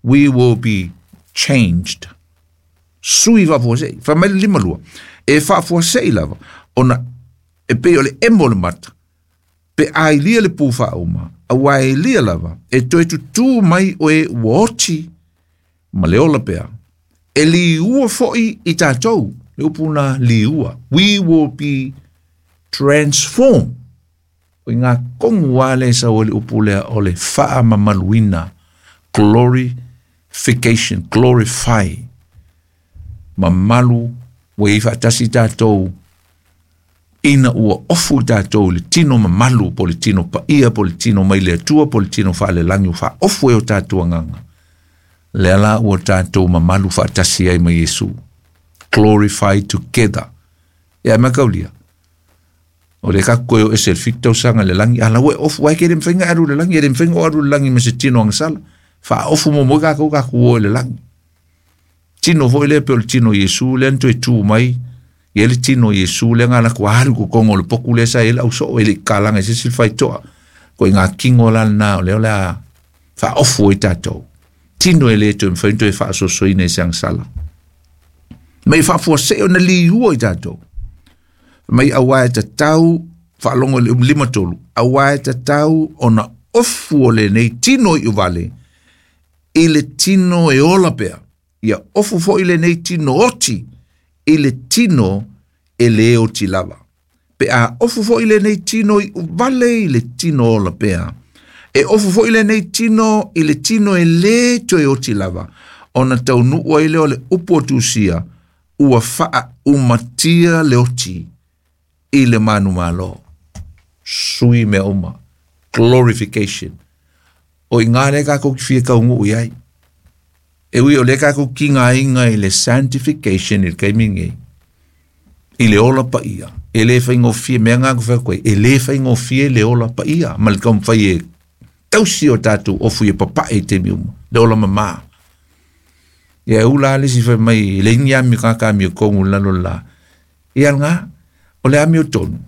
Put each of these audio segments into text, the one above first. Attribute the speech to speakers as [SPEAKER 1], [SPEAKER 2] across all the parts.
[SPEAKER 1] We will be changed. Sui faafuasei. Fai mai le 52. E faafuasei lava ona e pei o le emo o le mata pe a ilia le pu faauma, auā e ilia lava e toe tutū mai o e ua oti ma le ola pea. E liua foʻi i tatou, le upu na liua. We will be transformed. O i ngā kongu wā le sa o le upu lea o le faamamaluina. Glorification, glorify. Mamalu ua i faatasi tatou ina ua ofu i tatou i le tino mamalu po o le tino paia po o le tino mai le Atua po o le tino faalelagi ua faaofu ai o tatou agaga. Lea la ua tatou mamalu faatasi ai ma Iesu. Glorify together. Ia makaulia. O le ka koe o ese le 7 tausaga le lagi, ala ua e ofu ai ke le mawhainga alu le lagi, e le mawhainga o alu le lagi me se tino agasala. Faaofu mo moi kākou kākou o i le lagi. Tino foi lea pe o le tino Iesu lea na toe tū mai, ia le tino Iesu lea ngā lako alu ko kongo le poku lea sa e lau so e le kalanga i se sil whaitoa. Ko i ngā kingo la na o lea o lea faaofu i tātou. Tino e le toe mwhai toe faasosoina i se agasala. Mai faafuasei ona liua i tātou. Mai auā e tatau, faalogo i le 53, auā e tatau ona ofu o lenei tino i uvale, i le tino e ola pea. Ia ofu foʻi lenei tino oti, i le tino e lē oti lava. Pe a ofu foʻi lenei tino i uvale i le tino ola pea. E ofu foʻi lenei tino i le tino e lē toe oti lava. Ona taunuu ai lea o le upu o Tusia, ua faaumatia le oti i le manumalo. Sui mea uma. Glorification. O i ngā le kākou ki fia kaungu i ai. E ui o le kākou ki ngā inga i le sanctification i le kaimi ngei. I le ola paia. E le whaingofie, mea ngā ko whai koe, e le whaingofie le ola paia. Ma le kaumawhai e tausi o tātou ofu i e papae i te mi uma. Le ola mamā. Ia e ula ale si whai mai, le ingi ami kaka ami o kongu lalo la. Ia ngā, o le ami o tonu.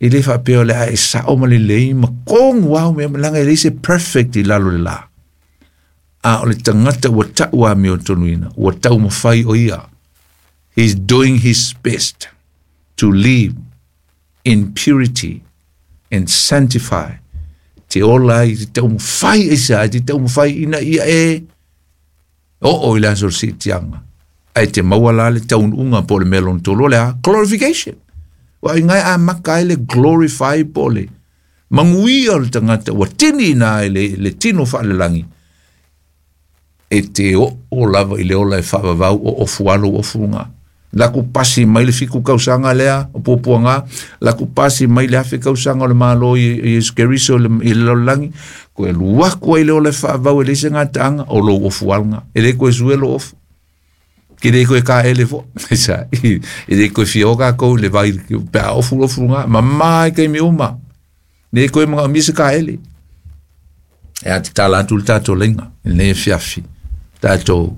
[SPEAKER 1] E le whapea o le a e sao ma le lei, ma kongu au mea, langa e le se perfect i lalo le la. A o le tangata ua tau ami o tonu ina, ua tau mawhai o ia. He's doing his best to live in purity and sanctify. Te ola i te tau mawhai e sa, te tau mawhai ina ia e o o i le aso si tianga. Ai te maua la le taunuuga po o le mea lona tolu o le a glorification. Ua i ngai a maka ai le glorify po o le maguia o le tagata ua tini ina ai le tino faalelagi e te oo lava i le ola e faavavau o ofu alo ofu luga. Laku pasi mai le 7 kausaga lea o puapuaga, laku pasi mai le 1000 kausaga o le Malo i Iesu Keriso i le lalolagi, koe alu aku ai le ola e faavavau e leai se gataaga o lou ofu aluga. E lē koe sue lou ofu. Ke le koe kaele fo. Sa, e le koe fia o kākou le vai pe a ofu ofu luga. Mamā i kaimi uma. Le koe mga se kaele. E a te tala atu le tātou leiga. I lenei afiafi. Tātou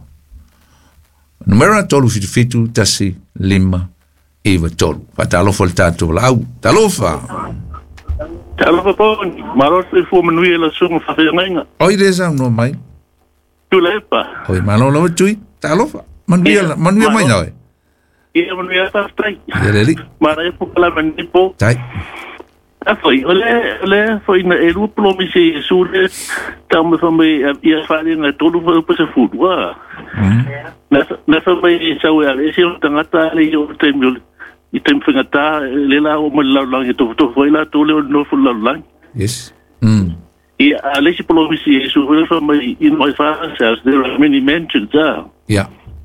[SPEAKER 1] numera 377 1 5 9 3. Faatalofa le tātou lau. Talofa.
[SPEAKER 2] Talofa poni. Malo se fua manuia la sunga whawhiangainga.
[SPEAKER 1] Oi le sau no mai.
[SPEAKER 2] Tulepa.
[SPEAKER 1] Oi malo lava tui. Talofa. Manuia, manuia mai nawe.
[SPEAKER 2] Ia manuia whawhitai.
[SPEAKER 1] Ia le li.
[SPEAKER 2] Mara e pukala manipo.
[SPEAKER 1] Tai.
[SPEAKER 2] A foi, o le foi na e lua promise i Iesu le tau me fa mai ia whaare ngā tolu wha upa se fulu. Na fa mai i sau e ale ese o tangata ale i o te mi i te mwhingata le la o mai lau langi tofu tofu ai la tole o nofu lau langi.
[SPEAKER 1] Yes.
[SPEAKER 2] I a le si promise i Iesu le fa mai, "In my Father's house there are many mansions." Ah.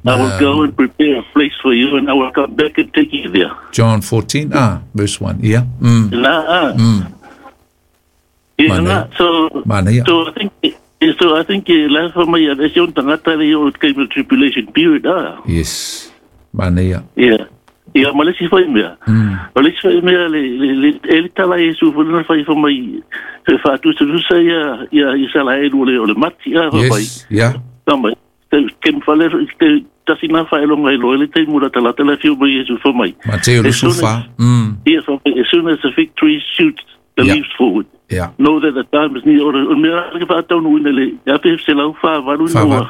[SPEAKER 2] "I will go and prepare a place for you and I will come back and take you there."
[SPEAKER 1] John 14, verse 1. Yeah.
[SPEAKER 2] Na, ah. Yeah, na, so,
[SPEAKER 1] Mana ia.
[SPEAKER 2] So I think la fa mai a ese on tangata le o ke tribulation period, ah.
[SPEAKER 1] Yes. Mana ia.
[SPEAKER 2] Yeah. Ia ma le si fai mea. Ma le si fai mea le e le tala Iesu fo na fai fa mai e fa tu tu sa ia ia i sa la e le o le mati ah fa mai.
[SPEAKER 1] Yes. Yeah.
[SPEAKER 2] Fa mai. Te ke fa le te tasi na fa e longa i lo le te mura tala tala fiu mai Iesu fa mai.
[SPEAKER 1] Mateo
[SPEAKER 2] As soon as-
[SPEAKER 1] Lusufa.
[SPEAKER 2] Ia fa mai, "As soon as the fig tree shoots the leaves forward, know that the time is near." O mea ke fa tau ina le ia fe se lau fa valu
[SPEAKER 1] Fa
[SPEAKER 2] no.